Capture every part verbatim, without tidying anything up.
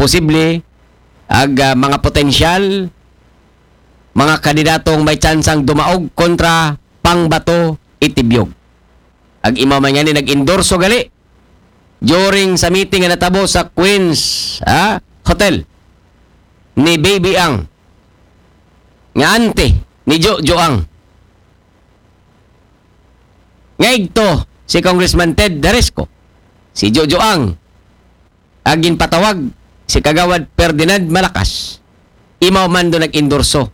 posible, ag, ah, mga potensyal, mga kandidatong may tsansang dumaog kontra Pangbato Itibiog. Ag imaw man ngani nag-endorso gali during sa meeting nga natabo sa Queens, ah, Hotel ni Baby Ang, nga ante ni Jojo Ang. Nga igto si Congressman Ted Daresco, si Jojo Ang, ag ginpatawag si Kagawad Ferdinand Malakas. Imaw man do nag-endorso.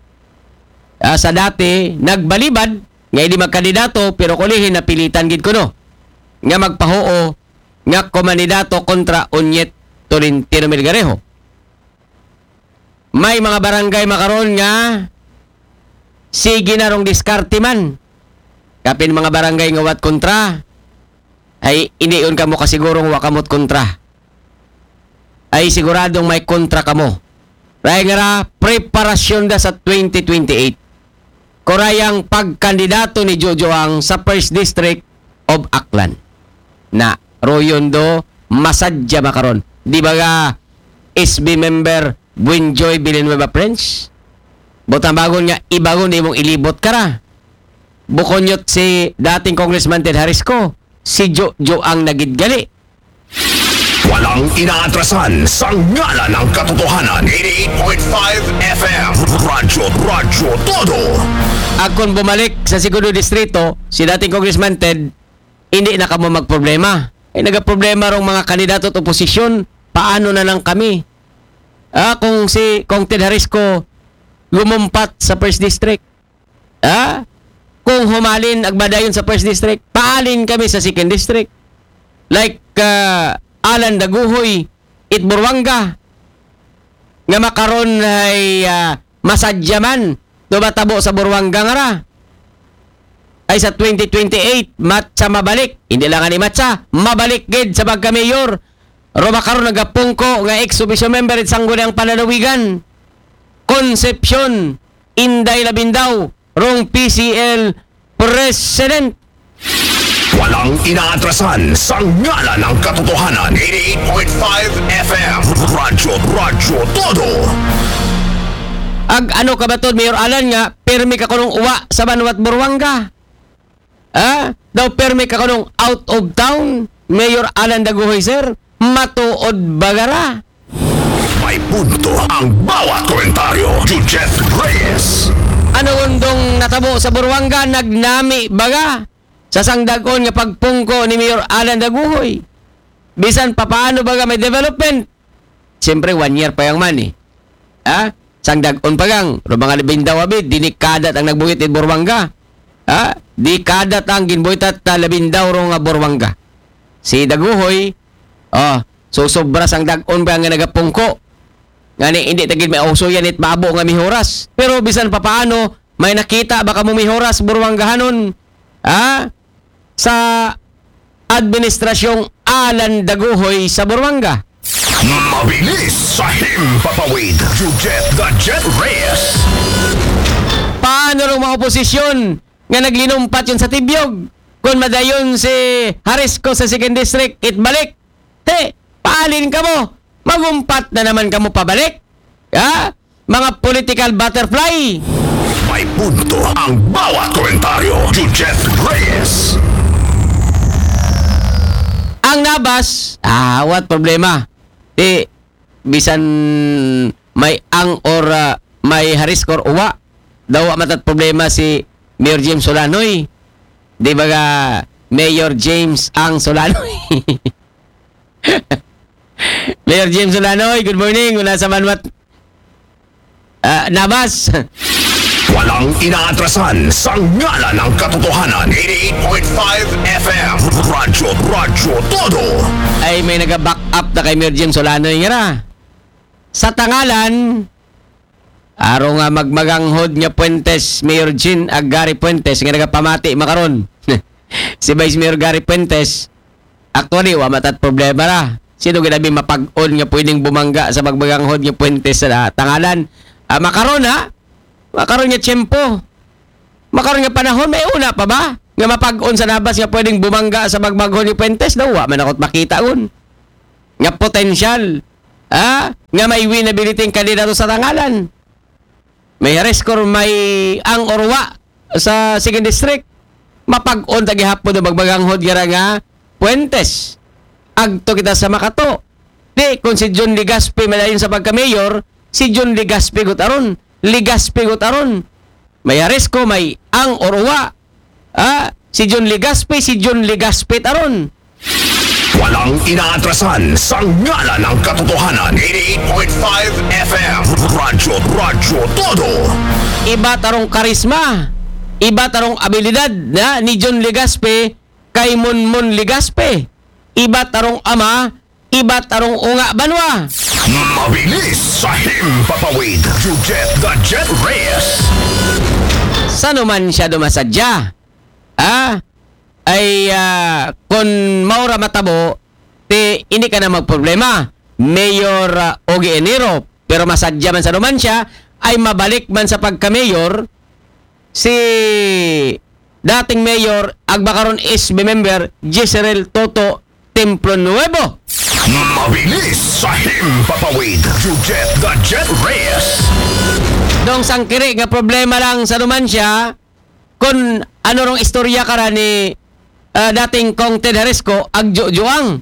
Ah, sa dati, nagbalibad nga hindi magkandidato, pero kulihin napilitan gid kuno nga magpahuo nga kumandidato kontra Onyet Tolentino Melgarejo. May mga barangay makaron nga sige na rong diskarte man. Kapin mga barangay nga wat kontra, ay hindi yun kamo kasigurong wa kamot kontra. Ay siguradong may kontra kamo. Kay nga ra, preparasyon da sa twenty twenty-eight. Kurayang pagkandidato ni Jojo Ang sa First District of Aklan. Na, royon do, masadya makaron. Di ba ga S B member Buenjoy Villanueva French? Butang bagon nga, ibagon imong ilibot ka ra. Bukonyot si dating Congressman Ted Harisco, si Jojo Ang nagidgali. Walang inaatrasan sa ngalan ng katotohanan. eighty-eight point five F M. Radyo, Radyo Todo. Ag kung bumalik sa segundo distrito, si dating Congressman Ted, hindi na kamo magproblema. Ay nagaproblema rong mga kandidato at oposisyon, paano na lang kami? Ah, kung si Kong Ted Harisco lumumpat sa First District, ah, kung humalin agbadayon sa First District, paalin kami sa Second District. Like, ah, Alan Daguhoy, it Buruanga, nga makaron ay, ah, masadyaman do matabo sa Buruanga nga ra. Ay sa twenty twenty-eight, matsa mabalik. Hindi lang ani matsa, mabalik gid sa pagka-mayor. Ro makaron nagapungko nga ex officio member it Sangguniang Panlalawigan, Concepcion Inday Labindao, rong P C L President. Walang inaatrasan sa ngalan ng katotohanan. eighty-eight point five F M. Radyo, Radyo Todo. Ag ano ka ba to, Mayor Alan, nga permi ka kunong uwa sa banwat Buruanga? Ha? Daw permi ka kunong out of town, Mayor Alan Daguhoy, sir? Matuod ba gara? May punto ang bawat komentaryo. Jujet Reyes. Ano undong natabo sa Buruanga, nagnami baga sa sangdagon nga pagpungko ni Mayor Alan Daguhoy? Bisan papaano baga may development? Siyempre, one year pa yang man eh. Ha? Sangdagon pa gang, ro mga Labindao abi, dinikadat ang nagbuhit in Buruanga. Ha? Dikadat ang ginbuhitat ta Labindao ro nga Buruanga. Si Daguhoy, oh, so sobra sangdagon pa nga nagapungko. Ngani, hindi tagid may uso yan it babo nga mihoras. Pero bisan papaano, may nakita ba kamo mihoras Buruangahanon? Ha? Sa administrasyong Alan Daguhoy sa Buruanga. Mabilis sa himpapawid. Jujet the Jet Reyes. Paano rong mga oposisyon nga naglinumpat yun sa Tibiog? Kung madayon si Harisco sa Second District, itbalik. Te, paalin kamo. Magumpat na naman kamo pabalik. Ha? Mga political butterfly. May punto ang bawat komentaryo. Jujet Reyes. Ang Nabas, ah, what problema? Di, bisan may ang or ah, may Harisco or uwa, daw wa matat problema si Mayor James Solanoy. Di ba ga Mayor James ang Solanoy? Mayor James Solanoy, good morning. Una sa Manwat, ah, Nabas. Walang inaatrasan sa ngalan ng katotohanan. eighty-eight point five F M. Radyo, Radyo Todo. Ay, may naga-back up na kay Mayor James Solanoy nga ra. Sa tangalan, aro nga magmaganghod nga Fuentes, Mayor Jean ag Gary Fuentes, nga nagapamati makaron. Si Vice Mayor Gary Fuentes, actually, wa matat problema ra. Sino ginabi mapag-on nga pwedeng bumangga sa magmaganghod nga Fuentes sa tangalan? Ah, makaron ha? Makaron nga tiyempo. Makaron nga panahon, may una pa ba? Nga mapag-on sa Nabas nga pwedeng bumangga sa magmaganghod nga Fuentes? Daw, wa man ako't makita gun. Nga potensyal. ah, nga may winnability ang kandidato sa tangalan. May Harris ko, may ang orwa sa second district. Mapag-on ta gihapon ang magbaganghod nga ra nga Puentes. Agto kita sa Makato. Di, kung si John Legaspi malayon sa pagka-mayor, si John Legaspi gutaron. Legaspi gutaron. May Harris ko, may ang orwa. Ah, si John Legaspi, si John Legaspi taron. Walang inaatrasan sa ngalan ng katotohanan. Eighty-eight point five F M. Radyo, Radyo Todo. Iba tarong karisma, iba tarong abilidad na ni John Legaspi kay Monmon Legaspi. Iba tarong ama, iba tarong unga banwa. Mabilis sa himpapawid. Jujet the Jet Reyes. Sa naman siya dumasadya. Ah, ay ah, kung maura matabo, ti hindi ka na magproblema. Mayor ah, Ogie Enero, pero masadya man sa naman siya, ay mabalik man sa pagka-mayor si dating mayor, agba karon S B member, Jezreel Toto Templo Nuevo. Mabilis sa himpapawid. Jujet the Jet Reyes. Dong sangkiri nga problema lang sa naman siya, kung ano rong istorya ka ra ni ah, dating Kong Ted Harisco, ag Jojoang.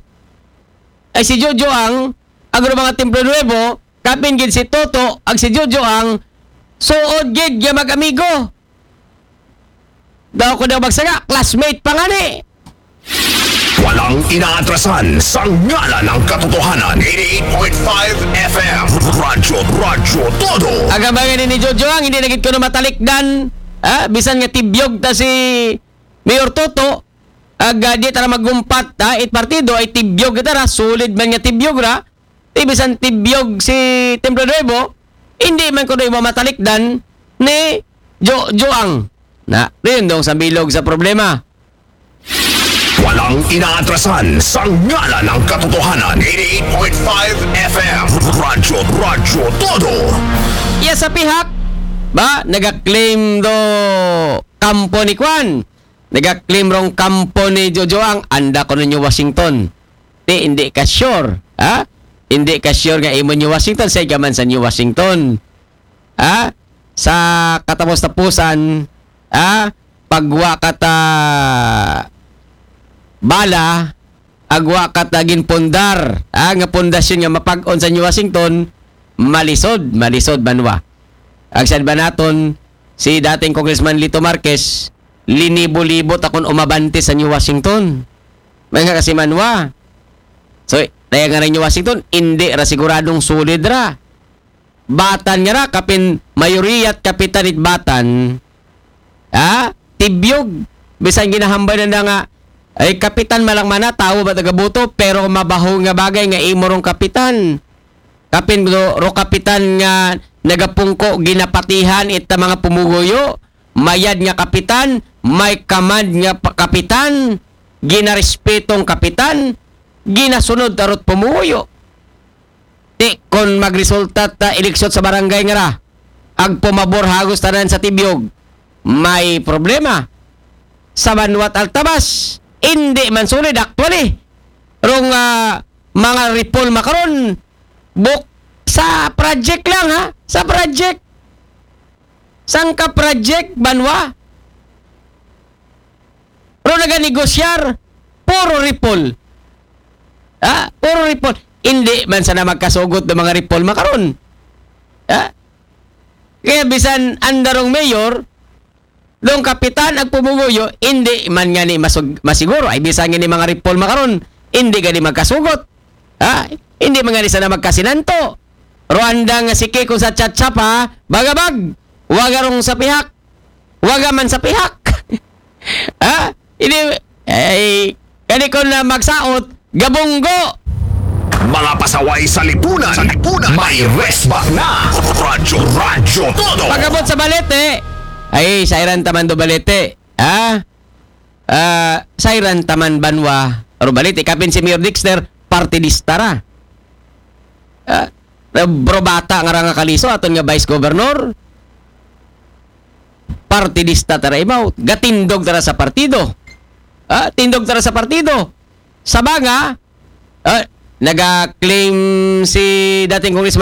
Ay si Jojoang, ag mga Templo Nuevo, kapin gid si Toto, ag si Jojoang, suod gid nga mag-amigo. Daw ko daw magsaga, classmate pa nga ni. Walang inaatrasan sa ngalan ng katotohanan. Eighty-eight point five F M. Radyo, Radyo Todo. Agabangan ni Jojoang, hindi na gid ko na matalikdan. Ha? Bisan nga tibyog ta si Mayor Toto, ag ah, di tara magumpat, ha? It partido ay tibyog kita ra, solid man nga tibyog ra. Ti bisan tibyog si Templo Nuevo, hindi man ko na matalikdan ni Jo Joang. Na, rin dong sa bilog sa problema. Walang inaatrasan sa ngalan ng katotohanan. Eighty-eight point five F M. Radyo, Radyo Todo. Iya sa pihak, ba, nagaklaim do kampo ni Kwan. Nagaklaim rong kampo ni Jojoang, anda ko ninyo Washington. Ti, hindi ka sure, ha? Hindi ka sure nga imo New Washington, sa gaman sa New Washington. Ha? Sa katapos-tapusan, ha? Pagwa ka ta bala, agwa ka ta ginpundar, ha? Nga pundasyon nga mapag-on sa New Washington, malisod, malisod banwa. Ag sad ba naton, si dating Congressman Lito Marquez, linibo-libo ta kung umabante sa New Washington. May nga kasi manwa. So, kaya nga rin New Washington, hindi ra siguradong solid ra. Batan nga ra, kapin mayoriya at kapitan it Batan, ha? Tibyog. Bisan ginahambay na nga, ay kapitan malang mana, tawo ba tagabuto, pero mabaho nga bagay nga imo rong kapitan. Kapin ro, ro kapitan nga nagapungko, ginapatihan ita mga pumuguyo, mayad nga kapitan, may kamad nga pa- kapitan, ginarespetong kapitan, ginasunod tarot pumuguyo. Ti, kon magresulta ta eleksyon sa barangay nga ra, ag pumabor hagos tanan sa tibyog, may problema. Sa Banwat Altabas, hindi man solid actually. Rong ah, mga reforma karon, buk sa project lang ha, sa project. Sangka project, banwa. Pero naganegosyar, puro ripol. Ha? Puro ripol. Hindi man sana magkasugot ng mga ripol makaron. Ha? Kaya bisan andarong mayor, dong kapitan ag pumuguyo, hindi man nga ni masug- masiguro. Ay bisan nga ni mga ripol makaron, hindi gani magkasugot. Ha? Hindi man nga ni sana magkasinanto. Rwanda nga si Kiko sa chat-chat ha, bagabag. Wagarong sa pihak. Waga man sa pihak. Ha? Hindi, ay, kani ko na magsaot, gabunggo. Mga pasaway sa lipunan. Sa lipunan. May resbak na. Radyo, Radyo Todo. Pagabot sa balete, ay, sairan taman do balete. Ha? Ah, sairan taman banwa. Aro balete, kapin si Mayor Dexter, partidista ra. Ah, bro bata nga ra nga kaliso, aton nga vice governor. Partidista tara imaw, gatindog tara sa partido. Ah, tindog tara sa partido. Sabanga, ah, Nag-claim si dating Congressman